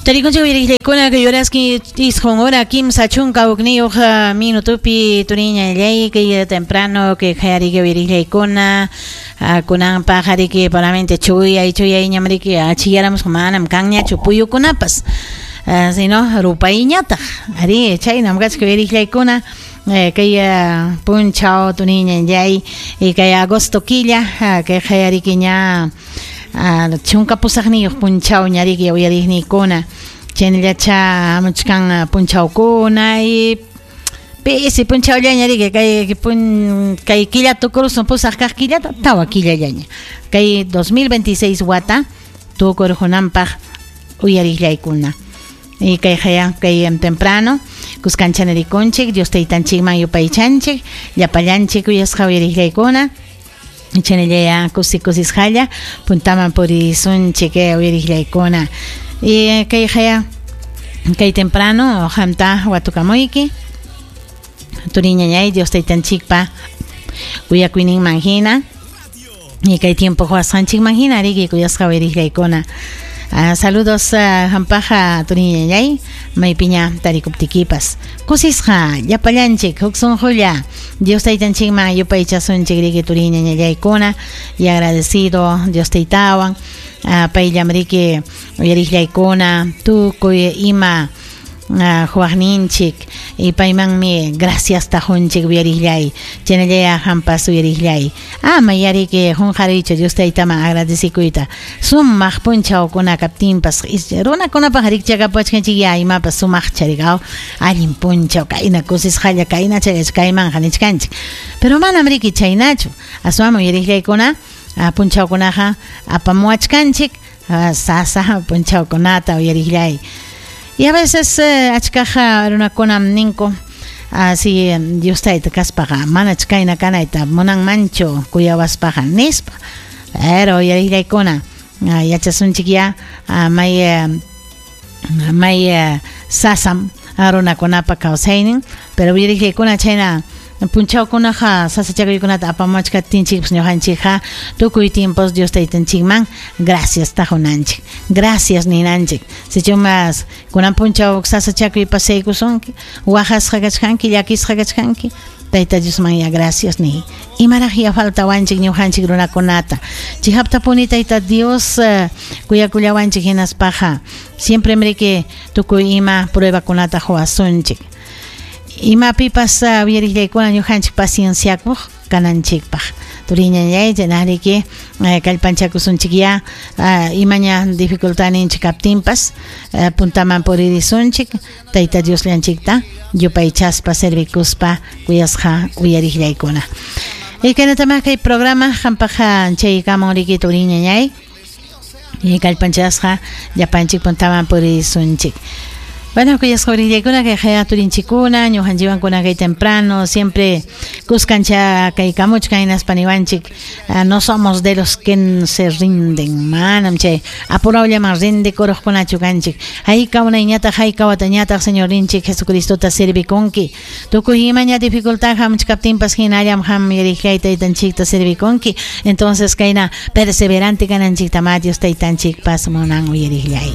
Tarikunchik uyariqllaykuna kay horaski isqun hora 31 minutopi turiñallay kay temprano kay qayariki uyariqllaykuna kunanpaq ariki paramente chuyay chuyayñam riki achiyaramusqa manam kanñachu puyukunapas sino rupayñataq ari chaynam kachka uyariqllaykuna kay punchaw turiñallay kay agosto killa kay qayariki ña 18 punchawña riki uyariqniykuna chaynallacha hamuchkan punchawkuna y pisi punchawllaña riki kay killa tukurusun pusaq kaq killata tawa killallaña kay 2026 wata tukurunanpaq uyariqllaykuna y kay haya kay temprano kuskancha-narikunchik Dios taytanchikman yupaychanchik llapallanchik uyasqa uyariqllaykuna chaynallaya kusi kusisqalla puntaman purisunchik uyariqllaykuna y kay haya kay temprano qamta watukamuyki turiñañay Dios taytanchikpa kuyakuyninman hina y kay tiempo huasqanchikman hina riki kuyasqa uyariqllaykuna. Saludos hampaja turiñañay maypiña tarikuptikipas kusisqa llapallanchik huk sunqulla Dios taytanchikman yupaychasunchik riki turiñañallaykuna y agradecido Dios taytawan payllam riki uyariqllaykuna tukuy ima huaqninchik y paymanmi gracias tajunchik uyariqllay chaynallaya hampas uyariqllay ama yariki qunqariychu Dios taytaman agradecikuyta sumaq punchawkuna kaptinpas runakunapaq rikchakapuwachkanchik ya imapas sumaqcha rikaw allin punchaw kayna kusisqalla kayna chayach kaymanqa nichkanchik pero manam riki chaynachu aswanmi uyariqllaykuna punchawkunaqa apamuwachkanchik sasa punchawkunata uyariqllay. Y a veces achkaqa runakunam ninku si Dios tayta kaspaqa manach kayna kanayta munanmanchu kuyawaspaqa nispa pero uyariqllaykuna yachasunchik ya may sasam runakunapa kawsaynin pero uyariqllaykuna chayna punchawkunaqa sasachakuykunata apamuwachkaptinchikpas ñuqanchikqa tukuy tiempos Dios taytanchikman gracias tajunanchik gracias ninanchik sichumas kunan punchaw sasachakuy pasaykusunki waqasqa kachkanki llakisqa kachkanki Tayta Diosman ya gracias ni imaraq ya faltawanchik ñuqanchik runakunata chihaptapuni Tayta Dios kuyakullawanchik hinaspaqa siempre mriki tukuy ima pruebakunata huwasunchik imapipas uyariqllaykuna ñuqanchik pacienciakuq kananchikpaq turiñañay chaynariki kallpanchakusunchik ya imaña dificultadninchik kaptinpas puntaman puririsunchik Tayta Diosllanchikta yupaychaspa servikuspa kuyasqa uyariqllaykuna y kaynatamá kay programa qampaq chaykamun riki turiñañay y kallpanchasqa llapanchik puntaman puririsunchik. Bueno, kuyasqa uyariqllaykuna kay haya turinchikuna ñuqanchikwankuna kay temprano siempre kuskancha kaykamuchkan hinaspa niwanchik no somos de los que se rinden manam chay apurawllaman rindikuruqkunachu kanchik hayka unayñataq hayka watañataq Señorninchik Jesucristota servikunki tukuy imaña dificultad hamuchkaptinpas hinallam ham yariqllay taytanchikta servikunki entonces kayna perseverante kananchikta ma Dios taytanchikpas munan uyariqllay.